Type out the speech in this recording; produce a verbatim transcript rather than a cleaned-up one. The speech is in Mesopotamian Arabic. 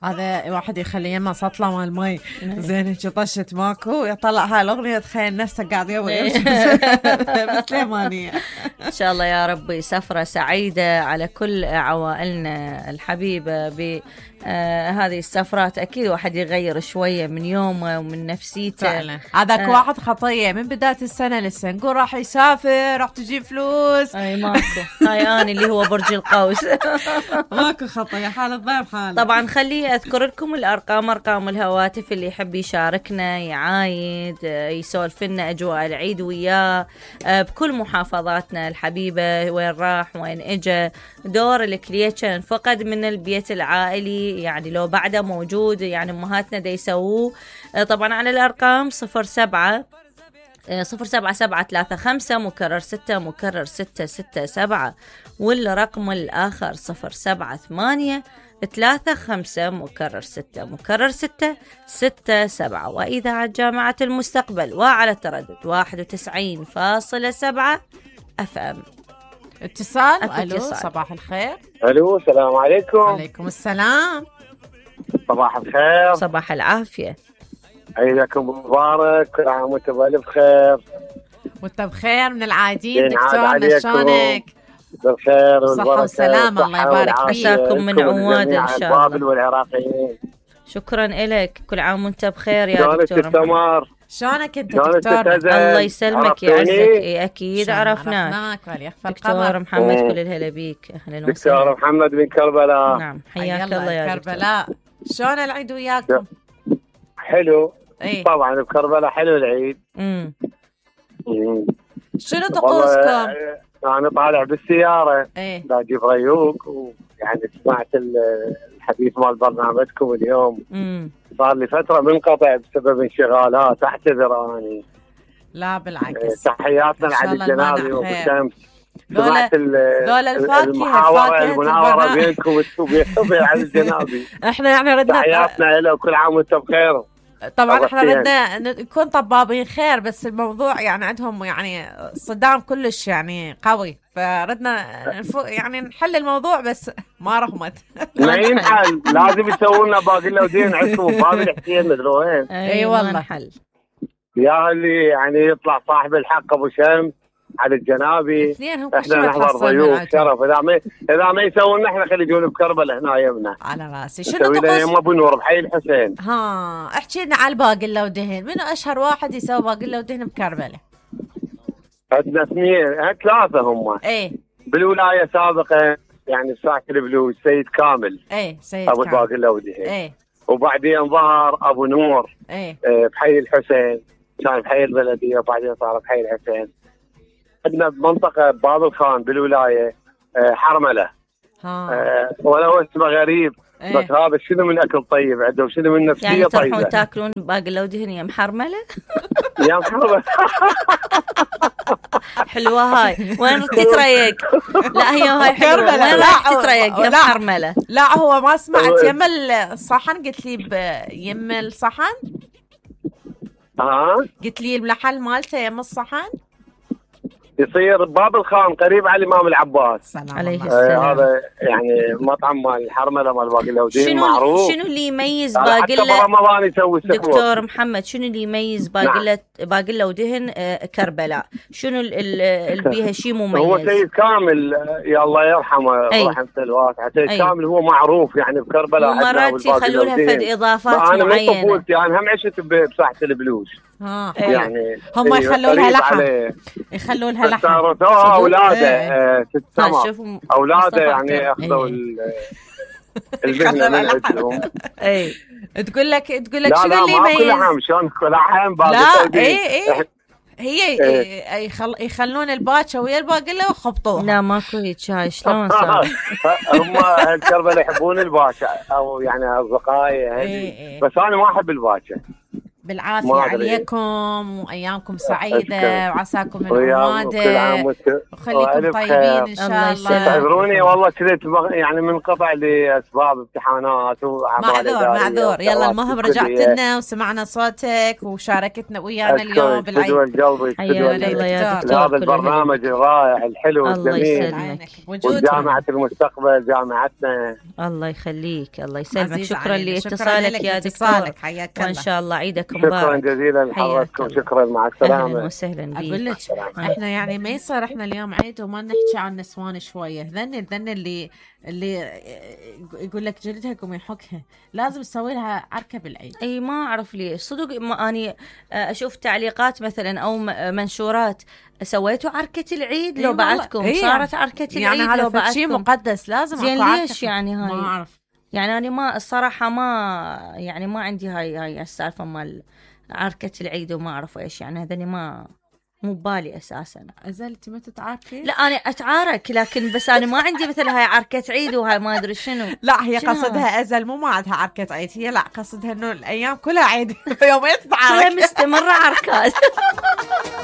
هذا واحد يخلي يمه سطلة مال مي زين هيك طشت ماكو يطلع هاي الأغنية تخيل نفسه قاعد يوي بسليمانية. إن شاء الله يا ربي سفرة سعيدة على كل عوائلنا الحبيبة ب آه هذه السفرات. أكيد واحد يغير شوية من يومه ومن نفسيته. هذاك آه. واحد خطية من بداية السنة لسه نقول راح يسافر راح تجيب فلوس. أي ماكو. هاي أنا اللي هو برج القوس. ماكو خطية حال الضيف حال. طبعا خليه أذكر لكم الأرقام أرقام الهواتف اللي يحب يشاركنا يعايد يسولف لنا أجواء العيد وياه بكل محافظاتنا الحبيبة وين راح وين إجا. دور الكليتشن فقد من البيت العائلي يعني لو بعده موجود يعني أمهاتنا دا يسووه. طبعا على الأرقام صفر سبعة صفر سبعة سبعة ثلاثة خمسة مكرر ستة مكرر ستة ستة سبعة والرقم الآخر صفر سبعة ثمانية ثلاثة خمسة مكرر ستة مكرر ستة ستة سبعة. وإذاعة جامعة المستقبل وعلى تردد واحد وتسعين فاصلة سبعة أف أم. اتصال. ألو صباح الخير. ألو السلام عليكم. وعليكم السلام. صباح الخير. صباح العافية. عيدكم مبارك كل عام وانتم بألف خير. وانت بخير من العايدين دكتور شلونك؟ بالخير والصحة والسلامة الله يبارك فيك. عساكم من عواد إن شاء الله. والعراقيين شكرا إلك كل عام وانت بخير يا دكتور. التمر شلونك انت دكتور؟ الله يسلمك يعزك. إيه أكيد عرفناك دكتور محمد كل الهلا بيك. أهلا وسهلا. دكتور محمد من كربلاء. نعم حياك الله يا كربلاء. شلون العيد وياكم؟ حلو. ايه؟ طبعا بكربلاء حلو العيد. امم شنو طقوسكم؟ أنا طالع بالسيارة ايه باجيب ريوق ويعني سمعت الحديث مال برنامجكم اليوم. امم صار لي فترة منقطع بسبب انشغالات اعتذر اني. لا بالعكس. تحياتنا لعلي الجنابي وبالشمس. سمعت ذول الفاكهة المحاورة المناورة بينكم وبين علي الجنابي. احنا يعني ردنا تحياتنا له وكل عام وانتم بخير. طبعا احنا بدنا نكون طبابين خير بس الموضوع يعني عندهم يعني صدام كلش يعني قوي فردنا يعني نحل الموضوع بس ما رغمت. ما ينحل لازم يسوون لنا باقي ودين عندكم باب الحسين مدري وين. اي والله حل يا اللي يعني يطلع صاحب الحق ابو شمس على الجنابي احنا نحضر ضيوف شرف. اذا ما اذا ما يسوون احنا خلي يجون بكربلاء هنا يمنا على راسي. شنو طقوس يما ابو نور بحي الحسين؟ ها احكي لنا على الباقله ودهن. منو اشهر واحد يسوي باقله ودهن بكربلاء؟ عندنا اثنين ثلاثه هم. ايه بالولايه سابقا يعني ساعه البلوز سيد كامل. ايه سيد ابو كامل. الباقله ودهن. ايه وبعدين ظهر ابو نور. ايه اه بحي الحسين كان بحي البلديه وبعدين صار بحي الحسين. عندنا بمنطقة باب الخان بالولاية حرملة. ها ولو اسمه غريب. ايه؟ بس هذا شنو من أكل طيب عندهم شنو من نفسية يعني طيبة. يعني تروحون تاكلون باقلة ودهن يا محرملة؟ يا محرملة. حلوة هاي. وين تتريق؟ لا هي هاي حلوة. وين راح تتريق يا محرملة؟ لا هو ما سمعت يم الصحن قلت لي يم الصحن. ها قلت لي المحل مالته يم الصحن. يصير باب الخان قريب على الإمام العباس عليه السلام. آه هذا يعني مطعم مال الحرملة مال باقلة ودين معروف. شنو اللي يميز باقلة رمضان يسوي دكتور محمد؟ شنو اللي يميز باقلة نعم. باقلة ودهن آه كربلاء شنو اللي بيها شيء مميز؟ هو سيد كامل يا الله يرحمه رحمة الواسعة. سيد أي. كامل هو معروف يعني بكربلاء. ومرات يخلوا لها فد إضافات معينة. أنا من طفولتي أنا هم عشت بساحة البلوز. ها يعني هم يخلوا لها لحم يخلوا لها لحم صارتوها اولاده ست سما اولاده يعني اخذوا المهنه من عندهم. اي تقول لك تقول لك شنو اللي يميز؟ لا لا ما كل شلون كل عام لا اي اي هي إيه؟ يخل... يخلون الباكه ويا الباقله وخبطوها. لا ماكو هيك شاي شلون صار؟ هم الكربلاء يحبون الباكه او يعني اصدقائي. إيه إيه. بس انا ما احب الباكه بالعافية عليكم وأيامكم سعيدة وعساكم من عمادة وخليكم طيبين إن شاء الله. اعذروني والله كذا يعني منقطع لأسباب امتحانات معذور معذور. يلا المهم رجعت لنا وسمعنا صوتك وشاركتنا ويانا اليوم بالعيد. هذا البرنامج الرائع الحلو الجميل وجامعة المستقبل جامعتنا. الله يخليك الله يسلمك. شكرا لاتصالك يا دكتور وإن شاء الله عيدك مبارك. شكرا جزيلا لحضرتكم. شكرا مع السلامة. أهلا وسهلا بيك. أقول لك احنا يعني ما يصير احنا اليوم عيد وما نحكي عن نسوان شوية. ذن ذن اللي اللي يقول لك جلدها قوم يحكها لازم تسوي لها عركة بالعيد. اي ما اعرف ليش صدق. ما اني اشوف تعليقات مثلا او منشورات سويتوا عركة العيد لو بعدكم إيه صارت عركة العيد يعني هذا بعدكم شيء مقدس لازم زين ليش يعني هاي ما اعرف. يعني أنا ما الصراحة ما يعني ما عندي هاي هاي السالفة مال عركة العيد وما أعرف إيش يعني. هذني ما مو بالي أساسا. أزلتي ما تتعاركي؟ لا أنا أتعارك لكن بس أنا ما عندي مثل هاي عركة عيد وهاي ما أدري شنو. لا هي قصدها أزل مو ما عندها عركة عيد. هي لا قصدها إنه الأيام كلها عيد يومين تتعارك. هي مستمرة عركات.